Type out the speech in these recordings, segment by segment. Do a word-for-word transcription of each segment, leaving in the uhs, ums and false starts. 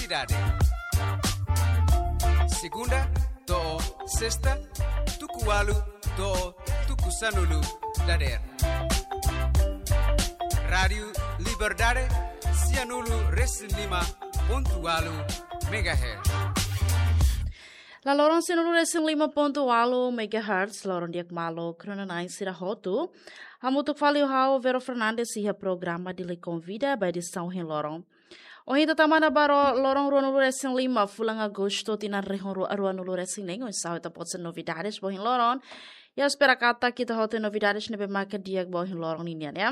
Dade. Segunda to'o sesta, tuku ualu to'o tuku sanulu dadeer. Rádiu Liberdade, sianulu resin lima pontu ualu megahertz. La loron sianulu resin lima pontu ualu megahertz, loron di'ak maluk rona-na'in sira hotu. Hamutuk fali ho ha'u Vero Fernandes iha programa Dili Konvida ba edisaun ohin loron. Ohin ita tama ona ba loron ruanulu resin lima fulan Agostu tinan rihun rua, ruanulu resin neen, oinsá ita-boot sira novidades ba ohin loron. Ya, espera katak ita hotu novidades ne'ebé maka di'ak ba ohin loron ninian, ya.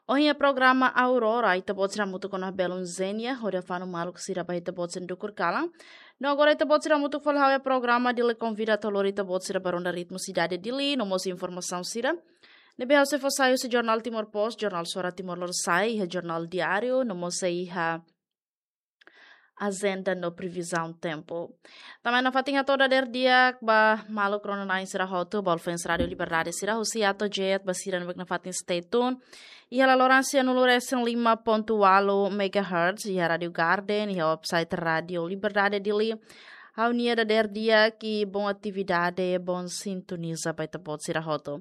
Ohin iha programa Aurora, ita-boot sira hamutuk ona ho belun Zenia, hodi fanu maluk sira ba ita-boot sira dukur kalan. No agora ita-boot sira hamutuk fali ho ha'u iha programa Dili Konvida atu lori ita-boot sira ba ronda ritmu sidade Dili, no mós informasaun sira ne'ebé ha'u sei fó sai husi jornál Timor Post, jornál Suara Timor Lorosa'e, iha jornál diáriu, no mós sei iha ajenda no previzaun tempu. Tanba ne'e nafatin hato'o dadeer di'ak ba maluk rona-na'in sira hotu, ba fans Rádiu Liberdade sira husi A to'o Z, ba sira ne'ebé nafatin stay tune iha la loron sianulu resin lima pontu ualu megahertz, iha Rádiu Garden, iha website Rádiu Liberdade Dili. Ha'u-nia dadeer di'ak i boa atividade, boa sintonizasaun ba ita-boot sira hotu.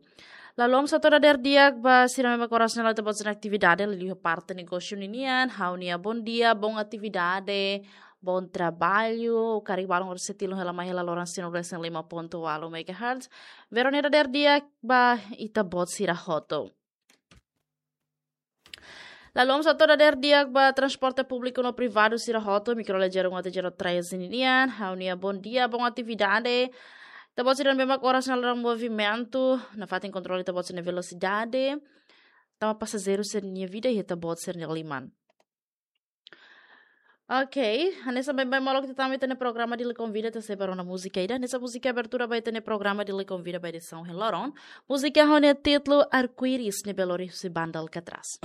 Lalu, ha'u sei hato'o dadeer di'ak ba sira ne'ebé mak oras ne'e la'o ita-boot sira-nia atividade, liuliu parte negósiu ninian, ha'u-nia bondia, boa atividade, bom trabalho, karik balun oras sei tilun hela mai hela loron sianulu resin lima pontu ualu megahertz. Vero nia dadeer di'ak ba ita-boot sira hotu. Lalu, ha'u sei hato'o dadeer di'ak ba transporte públiku no privadu sira hotu, mikrolejer um até zero três ninian, ha'u-nia bondia, boa atividade. Ita-boot sira ne'ebé mak oras ne'e la'o movimentu, nafatin kontrola ita-boot sira-nia velosidade. Tanba pasajeiru sira-nia vida iha ita-boot sira-nia liman. Ok, hanesan baibain maluk ita tama iha ita-nia programa Dili Konvida, ita sei ba rona múzika ida. Hanesan múzika abertura ba ita-nia programa Dili Konvida ba edisaun ohin loron. Múzika ho nia títulu Arco-Íris, ne'ebé lori husi banda Alcatraz.